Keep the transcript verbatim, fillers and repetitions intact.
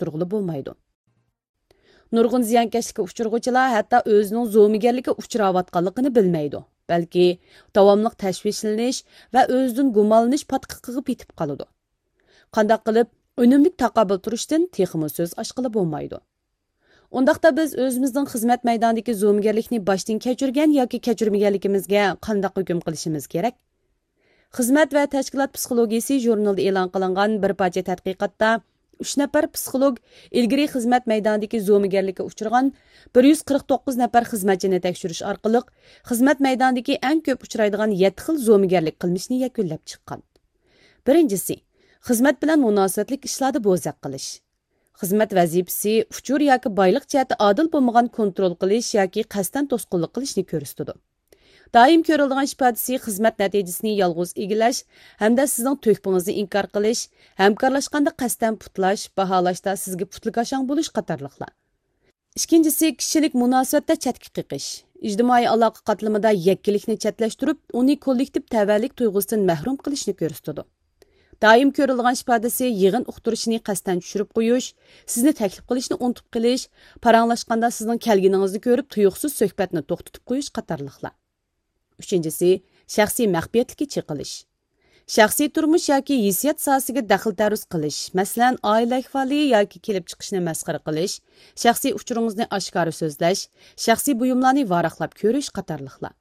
ئۇقتۇرغىلى بولمايدۇ. نۇرغۇن زىيانكەشلىككە ئۇچرىغۇچىلار ھەتتا ئۆزىنىڭ زومىگەرلىككە ئۇچراۋاتقانلىقىنى بىلمەيدۇ، بەلكى داۋاملىق تەشۋىشلىنىش ۋە ئۆزىدىن گۇمانلىنىش پاتقىقىغا پېتىپ قالىدۇ. قانداق قىلىپ ئۈنۈملۈك تاقابىل تۇرۇشتىن تېخىمۇ سۆز ئاچقىلى بولمايدۇ. ئۇنداقتا بىز ئۆزىمىزنىڭ خىزمەت مەيدانىدىكى زومىگەرلىكنى باشتىن كەچۈرگەن ياكى كەچۈرمىگەنلىكىمىزگە قانداق ھۆكۈم قىلىشىمىز كېرەك؟ خىزمەت ۋە تەشكىلات پسىخولوگىيىسى ژۇرنىلىدا ئېلان قىلىنغان بىر پارچە تەتقىقاتتا ئۈچ نەپەر پسىخولوگ ئىلگىرى خىزمەت مەيدانىدىكى زومىگەرلىككە ئۇچرىغان بىر يۈز قىرىق توققۇز نەپەر خىزمەتچىنى تەكشۈرۈش ئارقىلىق، خىزمەت مەيدانىدىكى ئەڭ كۆپ ئۇچرايدىغان يەتتە خىل زومىگەرلىك قىلمىشنى يەكۈنلەپ چىققان. بىرىنچىسى، خىزمەت بىلەن مۇناسىۋەتلىك ئىشلاردا بوزەك قىلىش. خىزمەت ۋەزىپىسى، ئۇچۇر ياكى بايلىق جەھەتتە ئادىل بولمىغان كونترول قىلىش ياكى قەستەن توسقۇنلۇق قىلىشنى كۆرسىتىدۇ. دائىم كۆرۈلىدىغان ئىپادىسى خىزمەت نەتىجىسىنى يالغۇز ئىگىلەش ھەمدە سىزنىڭ تۆھپىڭىزنى ئىنكار قىلىش، ھەمكارلاشقاندا قەستەن پۇتلاش، باھالاشتا سىزگە پۇتلىكاشاڭ بولۇش قاتارلىقلار. ئىككىنچىسى، كىشىلىك مۇناسىۋەتتە چەتكە قېقىش. ئىجتىمائىي ئالاقە قاتلىمىدا يەككىلىكنى چەتلەشتۈرۈپ، ئۇنى كوللېكتىپ تەۋەلىك تۇيغۇسىدىن مەھرۇم قىلىشنى كۆرسىتىدۇ. دائىم كۆرۈلىدىغان ئىپادىسى يىغىن ئۇقتۇرۇشىنى قەستەن چۈشۈرۈپ قويۇش، سىزنى تەكلىپ قىلىشنى ئۇنتۇپ قېلىش، پاراڭلاشقاندا سىزنىڭ كەلگىنىڭىزنى كۆرۈپ تۇيۇقسىز سۆھبەتنى توختىتىپ قويۇش قاتارلىقلار. ئۈچىنچىسى، شەخسىي مەخپىيەتلىككە چېقىلىش. شەخسىي تۇرمۇش ياكى ھېسسىيات ساھەسىگە دەخلى تەرۇز قىلىش، مەسىلەن، ئائىلە ئەھۋالى ياكى كېلىپ چىقىشنى مەسخىرە قىلىش، شەخسىي ئۇچۇرىڭىزنى ئاشكارا سۆزلەش، شەخسىي بۇيۇملارنى ۋاراقلاپ كۆرۈش قاتارلىقلار.